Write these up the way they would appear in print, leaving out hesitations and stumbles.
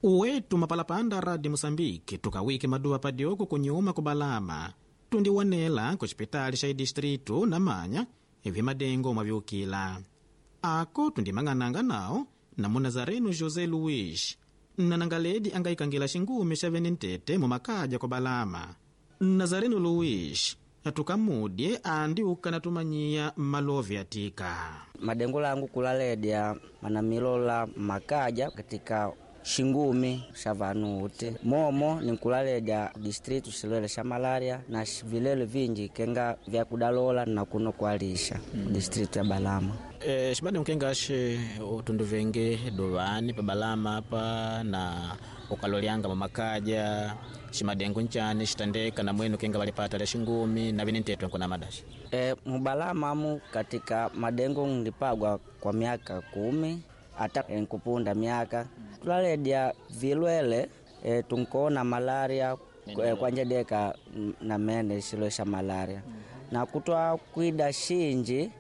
Uwetu mapalapanda Radi Musambiki tukawike maduva padyoko kunyuma kubalama tundiwonela ku xipitali xa idistritu na manya vimadengo mwaviukila ako tundimang'ananga nawo na munazareno José Luiz nnanangaledi angayikangila xingumi xa venentete mumakaja kubalama. Nazareno Luiz tukamudye andi ukana tumanyiya malovi atika madengo langu kulaledya manamilola makaja katika xingumi xa vanu uti momo ninkulaledya distritu xilwele xa malaria na vilelo vinji kenga vya kudalola na kuno kualisha distritu ya Balama. Xibadi nkengaxe utundu venge dovani pa Balama apa na ukalolyanga mumakaja ximadengo nchani xitandeka na mwenu kenga valipata lya xingumi na vinintetwe nkuna madaxi. Mubalama amu katika madengo nlipagwa kwa miaka 10 ata nkupunda miaka tulaledya vilwele tunkona malaria kwanjedeka na mene xilwele xa malaria na kutwa kwida xinji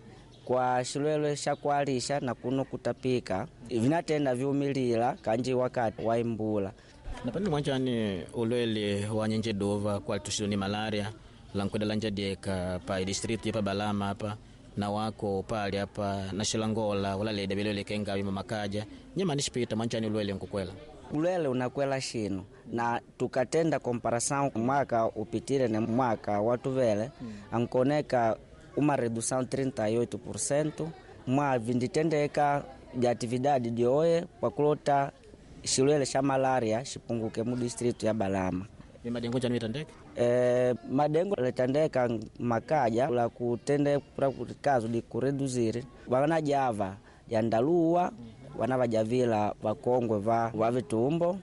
kwa xilwelwe xa kualisha na kuno kutapika vinatenda viumilila kanji wakati wa imbula. Na panini mwanchani ulwele wa nyenjeduva kwa tuxilo ni malaria lankweda lanjadieka pa distritu ya pa Balama apa na wako pali apa na xilangola ulaleda vilwele kenga vima makaja nyamani xipita mwanchani ulwele nkukwela ulwele unakwela xino na tukatenda comparação mwaka upitile na mwaka watuvele ankoneka uma redução 38% mwa vinditendeka de atividade dioye pakulota xilwele xa malaria xipunguke mu distrito ya Balama. Madengo njani vitandeka? Madengo letandeka makaja la kutende kazo di kureduziri vanajava jandaluwa vana vajavila vakongwe va vitumbo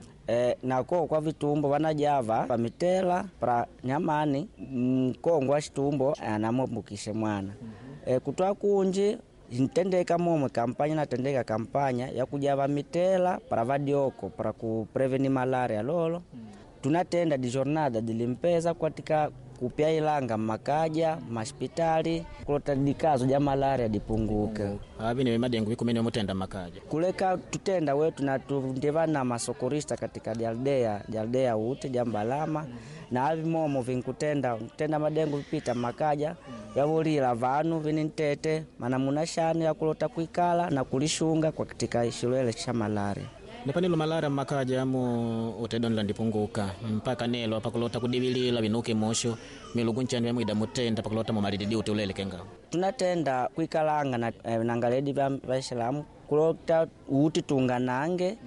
nako kwa vitumbo vanajava pamitela pra nyamani mkongwe wa xitumbo anamwambukishe mwana. Kutwa kunji ntendeka momwe kampanya natendeka kampanya ya kujava mitela para vadioko para kupreveni malaria lolo. Tunatenda di jornada de limpeza katika kupya ilanga makaja maspitali kulota dikazo ja malaria dipunguke. Avi ni madengo vikumene mutenda makaja kuleka tutenda wetu na tundiva na masokorista katika dialdea ute jambalama na avi momo vinkutenda tenda madengo vipita makaja yavulila vanu vinintete mana muna shani ya kulota kuikala na kulishunga kwa katika xilwele xa malaria. Nipanilo malaria mmakaja amu utedonela ndipunguka mpaka nelo pakulota kudivilila vinuke mosho milugu nchani vyamuida mutenda pakulota mumalididi uti ulele kenga tunatenda kuikalanga na nangaledi va vaisilamu kulota uti tunganange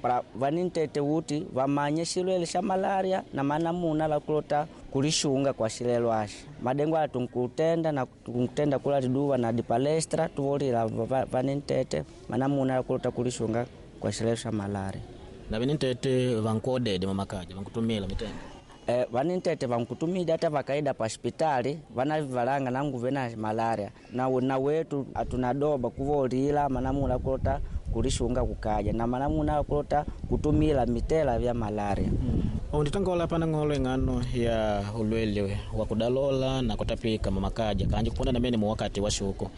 pra vanintete uti vamanye xilwele xa malaria na manamuna la kulota kulixunga kwa xilelo axi madengo ala tunkutenda na tunkutenda kula liduva na dipalestra tuvolila vanintete manamuna la kulota kulixunga kwa xilelo xa malaria. Na vinintete vankuodede mumakaja vankutumila mitende Vanintete vankutumida ata vakaida pa hospitali vanavalanga nanguve na malaria na wetu atunadoba kuvolila manamuna kulota kulishunga kukaja na manamuna kulota kutumila mitela vya malaria. Unditangola pana ng'olo ing'ano ya ulwele wa kudalola na kutapika mumakaja kanji kuponda namene muwakati wa shuku.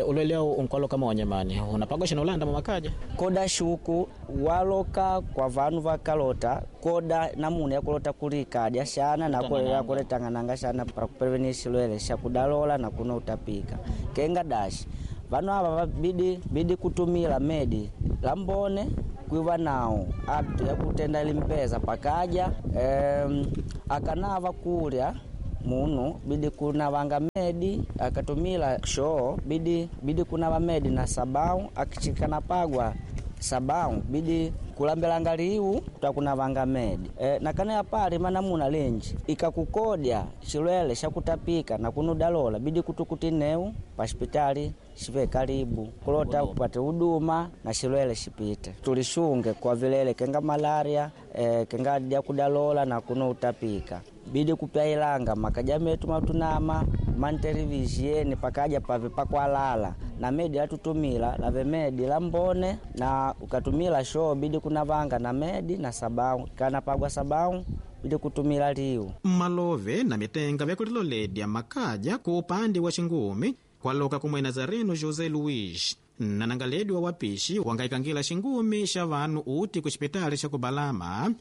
Ulwele au unkwalo kama wanyamani unapagwa shina ulanda mumakaja koda shuku waloka kwa vanu vakalota koda namuna yakulota kulikadya shana na kuletang'ananga shana para kupreveni xilwele xa kudalola na kuno utapika kenga dashi vanu ava bidi kutumila medi lambone kwiva nawo apto yakutenda limpeza pakaja akanava kulya munu bidi kunavanga medi akatumila shoo bidi kunava medi na sabau akichikanapagwa sabau bidi kulambelanga liu kutakunavanga medi nakana yapali manamuna lenji ikakukodya xilwele xakutapika na kunudalola bidi kutukuti neu pa hospitali xive karibu kulota upate huduma na xilwele xipite tulixunge kwa vilele kenga malaria kenga dyakudalola na kuno utapika bidi kupya ilanga makaja metu matunama mantelevisieni pakaja pave pakwalala na medi latutumila lave medi la mbone na ukatumila shoo bidi kunavanga na medi na sabau kana pagwa sabau bidi kutumila liu Malove na mitenga vyakuliloledya makaja ku upande wa xingumi kwaloka kumwe Nazareno José Luiz Nanangaledi wa wapishi wangaikangila xingumi xa vanu uti ku xipitali xa kubalama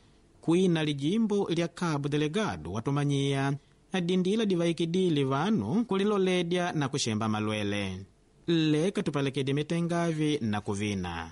kwina lijimbo lya Cabo Delegado watumanyiya adindila divaikidile vanu kuliloledya na kuxemba malwele. Leka tupalekede mitengavi na kuvina.